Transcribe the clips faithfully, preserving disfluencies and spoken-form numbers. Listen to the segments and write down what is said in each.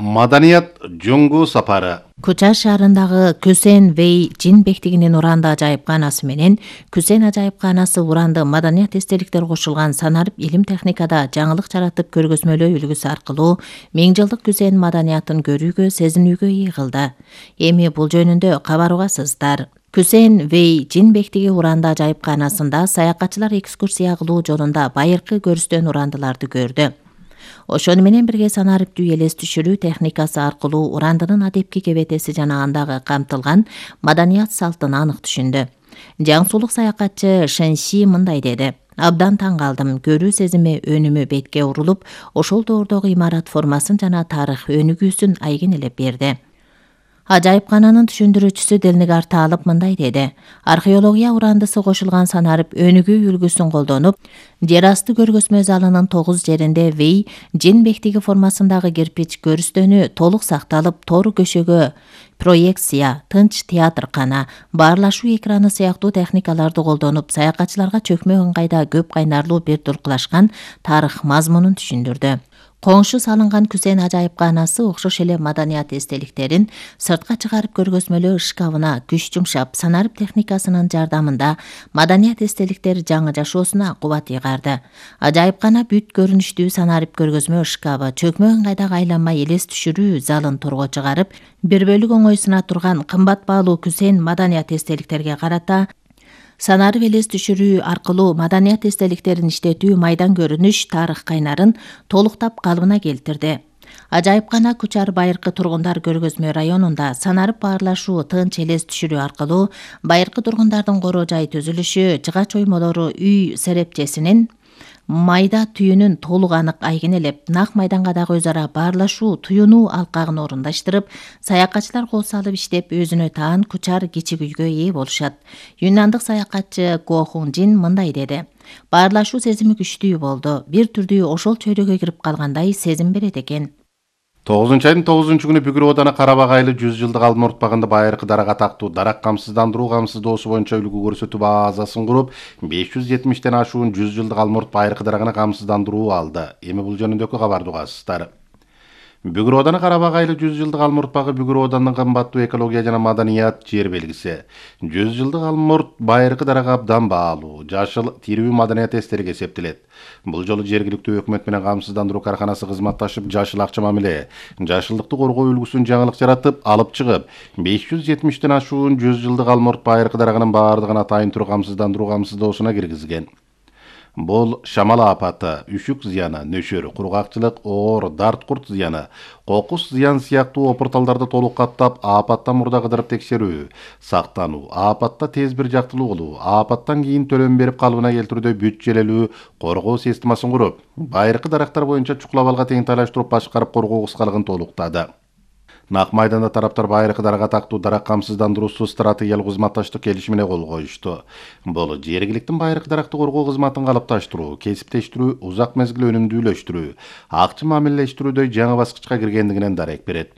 Маданият жоңгу сапары. Куча шаарындагы Күсен Вэй Жин бектигинин уранды ажайыпканасы менен Күсен ажайыпканасы уранды маданият эстеликтер кошулган санарып илим техникада жаңылык жаратып көргөзмөлөө үлгүсү аркылуу миң жылдык Күсен маданиятын көрүүгө, сезинүүгө ээ кылды. Эми бул жөнүндө кабар угасыздар. Күсен Вэй Жин бектиги уранды ажайыпканасында саякатчылар экскурсия кылуу жолунда байыркы көрүстөн урандыларды көрдү. Ошону менен бирге санариптүү элес түшүрүү техникасы аркылуу урандынын адепки кебетеси жана андагы камтылган маданият салтын анык түшүндү. Жаңсулук саякатчы Шэнши мындай деди: Абдан таң калдым, көрүү сезими өнүмү бетке урулуп, ошол доордогу имарат формасын жана тарых өнүгүүсүн айгинелеп берди. Ажайыпкананын түшүндүрүүчүсү Делнигар Таалып мындай деди: Археология урандысы кошулган санарып өнүгүү үлгүсүн колдонуп, жер асты көргөзмө залынын тогуз жеринде Вэй Жин бектиги формасындагы кирпич көрүстөнү толук сакталып, тор көшөгө проекция, тынч театр кана, баарлашуу экраны сыяктуу техникаларды колдонуп, саякатчыларга чөкмө ыңгайда көп кайнарлуу бир туркулашкан тарых мазмунун түшүндүрдү. Коңшу салынган Күсен ажайыпканасы окшош эле маданият эстеликтерин сыртка чыгарып көргөзмөлөө шкафына күч жумшап, санарып техникасынын жардамында маданият эстеликтер жаңы жашоосуна кубат ыйгарды. Ажайыпкана бүт көрүнүштүү санарып көргөзмө шкафы чөкмө ыңгайдагы айланма элес түшүрүү залын торго чыгарып, бир бөлүк оңойсуна турган кымбат баалуу Күсен маданият эстеликтерге карата санарып элес түшүрүү аркылуу маданият эстеликтерин иштетүү майдан көрүнүш тарых кайнарын толуктап калыбына келтирди. Ажайыпкана Кучар байыркы тургундар көргөзмө районунда санарып баарлашуу тынч элес түшүрүү аркылуу байыркы тургундардын короо жай түзүлүшү, жыгач оймолору, үй серепчесинин майда түйүнүн толук анык айгинелеп, нак майданга дагы өз ара баарлашуу, туюнуу алкагын орундаштырып, саякатчылар кол салып иштеп, өзүнө таан Кучар кичик үйгө ээ болушат. Юнандык саякатчы Го Хун Жин мындай деди: Баарлашуу сезими күчтүү болду. Бир түрдүү ошол чөйрөгө кирип калгандай сезим берет экен. тогузунчу айдын тогузунчу күнү Бүгүр ооданы Карабак айылы жүз жылдык алма уртпагында байыркы дарак атактуу дарак камсыздандыруу камсыздоосу боюнча үлгү көрсөтүү базасын куруп, беш жүз жетимиштен ашуун жүз жылдык алма урт байыркы дарагына камсыздандыруу алды. Эми бул жөнүндөгү кабарды угасыздар. Бүгүр ооданы Карабак айылы жүз жылдык алма уртпагы Бүгүр оодандын кымбаттуу экология жана маданият жер белгиси. жүз жылдык алма урт байыркы дарага абдан баалуу, жашыл тирүү маданият эстелиги эсептелет. Бул жолу жергиликтүү өкмөт менен камсыздандыруу карканасы кызматташып, жашыл акча мамиле, жашылдыкты коргоо үлгүсүн жаңылык жаратып, алып чыгып, беш жүз жетимиштен ашуун жүз жылдык алма урт байыркы дарагынын баардыгын атайын түрү камсыздандыруу камсыздоосуна киргизген. Бул шамал апаты, үшүк зыяны, нөшөр, кургакчылык, оор, дарт курт зыяны, кокус зыян сыяктуу опурталдарды толук каттап, апаттан мурда кыдырып текшерүү, сактануу, апатта тез бир жактылуу кылуу, апаттан кийин төлөм берип калыбына келтирүүдө бүт желелүү коргоо системасын куруп, байыркы дарактар боюнча чукул абалга тең тайлаштырып башкарып коргоо кыскалыгын толуктады. Нак майданда тараптар байыркы дарак атактуу дарак камсыздандыруусу стратегиялык кызматташтык келишимине кол коюшту. Бул жергиликтин байыркы даракты коргоо кызматын калыпташтыруу, кесиптештирүү, узак мезгил өнүмдүүлөштүрүү, акча мамилелештирүүдө жаңы баскычка киргендигинен дарек берет.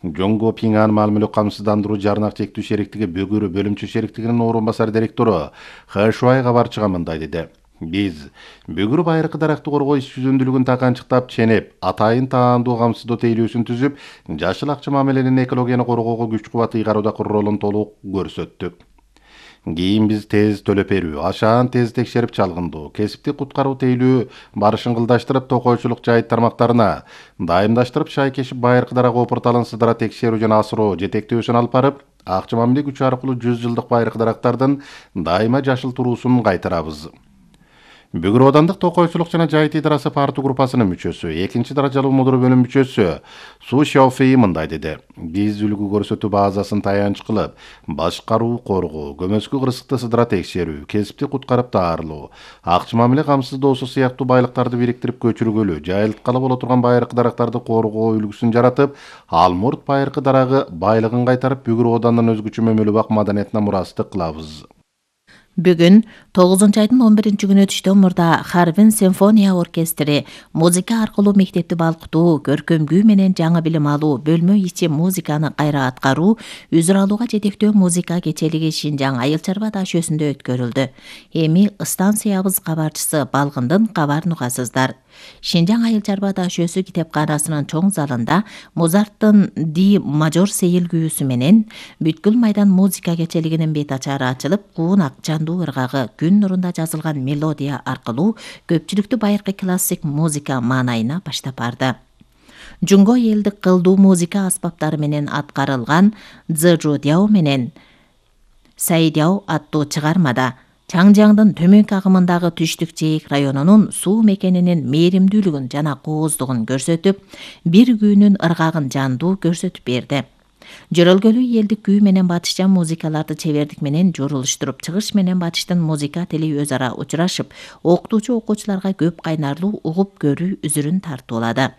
Жоңго Пиңан маалымөлүк камсыздандыруу жарнак чектүү шериктиги Бүгүр бөлүмчө шериктигинин орун басар директору Хэшуай кабарчыга мындай деди: Биз Бүгүр байыркы даракты коргоо иш жүзүндүүлүгүн таканчыктап ченеп, атайын таандуу камсыздоо тейлөөсүн түзүп, жашыл акча мамиленин экологияны коргоого күч кубат ыйгаруудагы ролун толук көрсөттүк. Кийин биз тез төлөп берүү, ашаан тез текшерип чалгындоо, кесиптик куткаруу тейлөө барышын кылдаштырып, токойчулук жайыт тармактарына дайымдаштырып, шай кешип байыркы дарак опурталын сыдыра текшерүү жана асыроо жетектөөсүн алып барып, акча мамиле күчү аркылуу жүз жылдык байыркы дарактардын дайыма жашыл туруусун кайтарабыз. Бүгүр оодандык токойчулук жана жайыт идарасы парту группасынын мүчөсү, экинчи даражалуу мудуру бөлүм мүчөсү Су Шаофей мындай деди: Биз үлгү көрсөтүү базасын таянч кылып, башкаруу, коргоо, көмөскү кырсыкты сыдыра текшерүү, кесипти куткарып даарылоо, акча мамиле камсыздоосу сыяктуу байлыктарды бириктирип көчүргөлү, жайылткалы боло турган байыркы дарактарды коргоо үлгүсүн жаратып, алма урт байыркы дарагы байлыгын кайтарып, Бүгүр оодандын өзгөчө мөмөлүү бак маданиятына мурастык кылабыз. Бүгүн тогузунчу айдын он биринчи күнү түштөн мурда Харбин симфония оркестри музыка аркылуу мектепти балкытуу, көркөм күү менен жаңы билим алуу, бөлмө ичи музыканы кайра аткаруу, үзүр алууга жетектөө музыка кечелиги Шинжаң Айыл чарба даш өсүндө өткөрүлдү. Эми станциябыз кабарчысы Балгындын кабарын угасыздар. Шинжаң Айыл чарба даш өсү китепканасынын чоң залында Мозарттын Ди мажор сейил күүсү менен бүткүл майдан музыка кечелигинин бет ачары ачылып, куунак жандуу ыргагы күн нурунда жазылган мелодия аркылуу көпчүлүктү байыркы классик музыка маанайына баштап барды. Жунго элдик кылдуу музыка аспаптары менен аткарылган Цзэжудяо менен Сайдяо аттуу чыгармада Чаңжаңдын төмөнкү агымындагы Түштүк Жээк районунун суу мекенинин мээримдүүлүгүн жана кооздугун көрсөтүп, бир күүнүн ыргагын жандуу көрсөтүп берди. Жөрөлгөлүү элдик күү менен батышча музыкаларды чебердик менен журулуштуруп, чыгыш менен батыштын музыка тили өз ара учурашып, окутуучу окуучуларга көп кайнарлуу угуп көрүү үзүрүн тартуулады.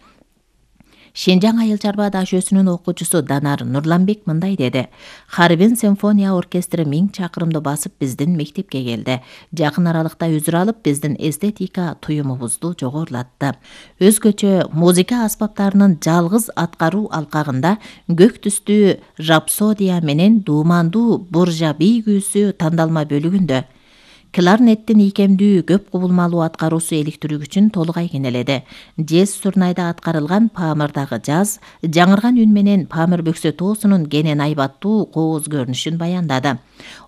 Шинжаң Айыл чарба даш өсүнүн окуучусу Данар Нурланбек мындай деди: Харбин симфония оркестри миң чакырымды басып биздин мектепке келди. Жакын аралыкта үзүр алып, биздин эстетика туюмубузду жогорулатты. Өзгөчө музыка аспаптарынын жалгыз аткаруу алкагында көк түстүү рапсодия менен дуумандуу буржа бий күүсү тандалма бөлүгүндө кларнеттин ийкемдүү көп кубулмалуу аткаруусу электирүүгүчүн толугай кенеледи. Жез сурнайда аткарылган Памырдагы жаз жаңырган үн менен Памыр бөксө тоосунун кенен айбаттуу кооз көрүнүшүн баяндады.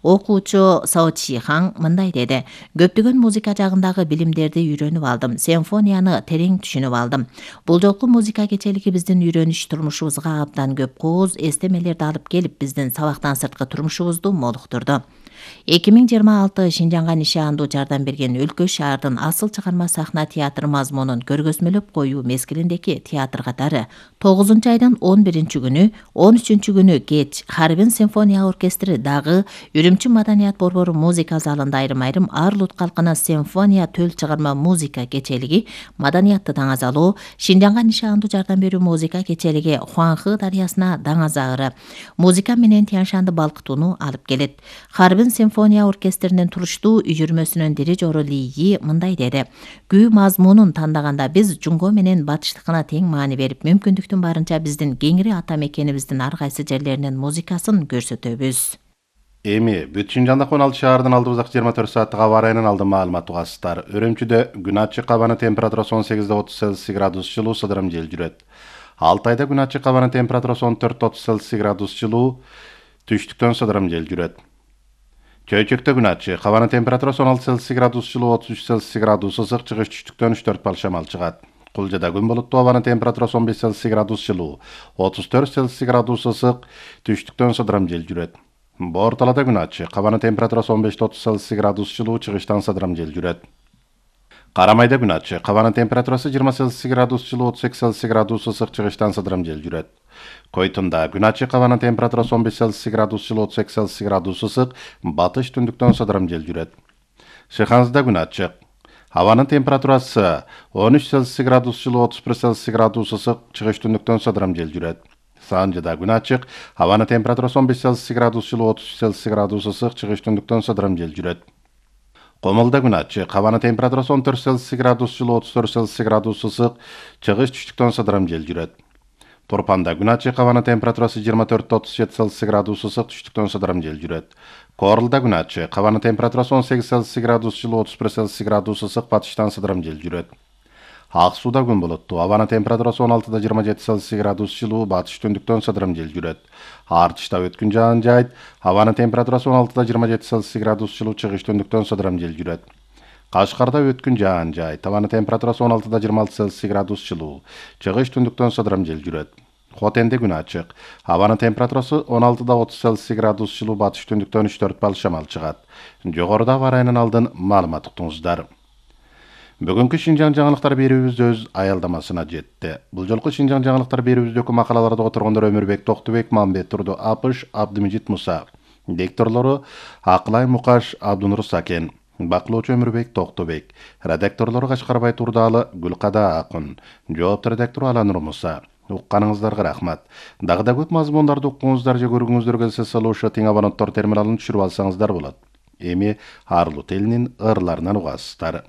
Окуучу Сао Чихаң мындай деди: Көптөгөн музыка жагындагы билимдерди үйрөнүп алдым, симфонияны терең түшүнүп алдым. Бул жолку музыка кечелиги биздин үйрөнүш турмушубузга абдан көп кооз эстемелерди алып келип, биздин сабактан сырткы турмушубузду молуктурду. эки миң жыйырма алты Шинжаңга нишандуу жардам берген өлкө шаардын асыл чыгарма сахна театры мазмунун көргөзмөлөп коюу мезгилиндеки театр катары тогузунчу айдын он биринчи күнү, он үчүнчү күнү кеч Харбин симфония оркестри дагы Үрүмчү маданият борбору музыка залында айрым-айрым ар-улут калкына симфония төл чыгарма музыка кечелиги, маданиятты даңазалоо, Шинжаңга нишандуу жардам берүү музыка кечелиги Хуанхы дарыясына даңазаары, музыка менен Тяншанды балкытууну алып келет. Харбин симфония оркестринин туруштуу үйүрмөсүнүн дирижеру Ли Yi мындай деди: Күү мазмунун тандаганда биз жунго менен батыштыкына тең маани берип, мүмкүндүктүн барынча биздин кеңири ата мекенибиздин ар кайсы жерлеринин музыкасын көрсөтөбүз. Эми бүт Шинжаңдагы он алты шаардын алдыбыздагы жыйырма төрт сааттык аба ырайынан алдын маалымат угасыздар. Үрүмчүдө күн ачык, абанын температурасы он сегиз отуз Цельсий градус жылуу, сыдырым жел жүрөт. Алтайда күн ачык, абанын температурасы он төрт отуз Цельсий градус жылуу, түштүктөн сыдырым жел жүрөт. Чөйчөктө күн ачык, абанын температурасы он алты Цельсий градус жылуу, отуз үч Цельсий градус ысык, чыгыш түштүктөн үч төрт балл шамал чыгат. Кулжада күн булуттуу, абанын температурасы он беш Цельсий градус жылуу, отуз төрт Цельсий градус ысык, түштүктөн сыдырым жел жүрөт. Борталада күн ачык, абанын температурасы он беш отуз Цельсий градус жылуу, чыгыштан сыдырым жел жүрөт. Карамайда күн ачык, абанын температурасы жыйырма Цельсий градус жылуу, отуз эки Цельсий градус ысык, чыгыштан сыдырым жел жүрөт. Койтунда күн ачык, абанын температурасы он беш Цельсий градус жылуу, отуз эки Цельсий градус ысык, батыш түндүктөн сыдырым жел жүрөт. Шыханзда күн ачык, абанын температурасы он үч Цельсий градус жылуу, отуз бир Цельсий градус ысык, чыгыш түндүктөн сыдырым жел жүрөт. Санжыда күн ачык, абанын температурасы он беш Цельсий градус жылуу, отуз үч Цельсий градус ысык, чыгыш түндүктөн сыдырым жел жүрөт. Комулда күн ачык, абанын температурасы он төрт Цельсий градус жылуу, отуз төрт Цельсий градус ысык, чыгыш түштүктөн сыдырым жел жүрөт. Турпанда күн ачык, абанын температурасы жыйырма төрт отуз жети Цельсий градус ысык, түштүктөн сыдырым жел жүрөт. Корулда күн ачык, абанын температурасы он сегиз Цельсий градус жылуу, отуз бир Цельсий градус ысык, батыштан сыдырым жел жүрөт. Ак сууда күн булуттуу, абанын температурасы он алтыда жыйырма жети Цельсий градус жылуу, батыш түндүктөн сыдырым жел жүрөт. Артышта өткүн жаан жайт, абанын температурасы он алтыда жыйырма жети Цельсий градус жылуу, чыгыш түндүктөн сыдырым жел жүрөт. Кашкарда өткүн жаан жайт, абанын температурасы он алтыда жыйырма алты Цельсий градус жылуу, чыгыш түндүктөн сыдырым жел жүрөт. Хотенде күн ачык, абанын температурасы он алтыда отуз Цельсий градус жылуу, батыш түндүктөн үч төрт балл шамал чыгат. Жогоруда аба ырайынан алдын маалымат уктуңуздар. Бүгүнкү Шинжаң жаңылыктар берүүбүз өз аялдамасына жетти. Бул жолку Шинжаң жаңылыктар берүүбүздөгү макалаларды которгондор Өмүрбек Токтубек, Мамбет Турду Апыш, Абдымежит Муса. Дикторлору Акылай Мукаш, Абдунур Сакен. Бакылоочу Өмүрбек Токтубек. Редакторлору Кашкарбай Турдалы, Гүлкада Акын. Жоопту редактору Аланур Муса. Укканыңыздарга рахмат. Дагы да көп мазмундарды уккуңуздар же көргүңүздөр келсе, салуушу тең абоненттор терминалын түшүрүп алсаңыздар болот. эми Арлут элинин ырларынан угасыздар.